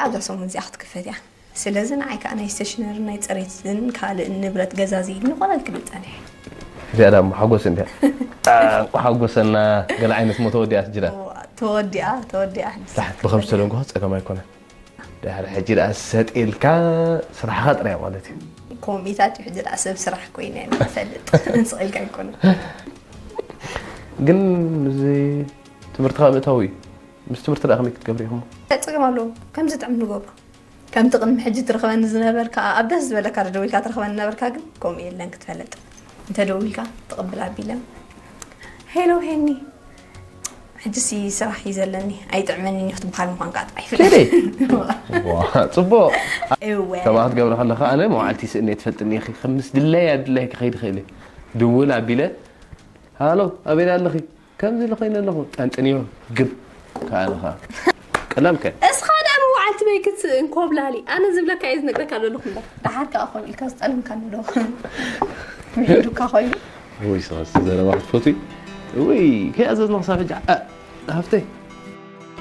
ኣብዛ ሰሙን እዚኣ ክትክፈት እያ። ስለዚ ንዓይ ከዓ ናይ ስቴሽነሪ ናይ ፅሬትን ካልእ ንብረት ገዛዝይኒ ኮነ ክብል ፀኒሐ። እዚኣ ዳ ሓጎስ እንድያ። እንቋ ሓጎሰና። ገለ ዓይነት ሞ ተወዲኣት ጅዳ። ተወዲኣ ተወዲኣ። ብኸም ዝተደንጎ ፀገም ኣይኮነን። ድሕሪ ሕጂ ደኣ ሰጥ ኢልካ ስራሕኻ ጥራይ ማለት እዩ። ኮሚታት እዩ ሕጂ ደኣ ሰብ ስራሕ ኮይነ ኢና ንፈልጥ። ስቕ ኢልካ ኣይኮነን። ግን እዚ ትምህርትኻ ምእታው እዩ። ምስ ትምህርቲ ደኣ ከመይ ክትገብሪ ኢኹሞ? እንታይ ፀገም ኣለዎ? ከምዚ ጥዕም ንገብሮ። ከምቲ ቅድሚ ሕጂ ትረኽበኒ ዝነበርካ ኣብ ደስ ዝበለካ ደዊልካ ትረኽበኒ ነበርካ፣ ግን ከምኡ የለን ክትፈልጥ። እንተ ደዊልካ ትቕብል ኣቢለ፣ ሄሎ ሄኒ፣ ሕጂ ሲ ስራሕ እዩ ዘለኒ፣ ኣይጥዕመኒን እዩ ክትበሃል ምዃንካ ጥራይ ይፍለጥ። ዋ፣ ጽቡቕ። እወ። ከምኣ ክትገብሪ ከለኻ ኣነ መዋዕልቲ ስእኒ ትፈልጥኒ ኢኺ። ከም ምስ ድለይ ኣድላይ ክኸይድ ይኽእል እየ። ድውል ኣቢለ፣ ሃሎ፣ ኣበይ ኣለኺ? ከምዚ ኢለ ኮይነ ኣለኹ። ጠንጥንዮ፣ ግብ። ከኣ ኣለኻ። ቀላል ከ? እስኻ ደኣ መዋዕልቲ በይክት እንኮብላሊ። ኣነ ዝብለካ እየ ዝነግረካ ዘለኹ እምበር። ደሓር ከኣ ኮይኑ ኢልካ ዝጠልምካኒ ዶ? ምሒዱካ ኮይኑ። ወይ ሰስ ዘረባ ክትፈትዊ? ወይ ከይኣዘዝና ክሳብ ሕጂ፣ ኣ፣ ሃፍተይ።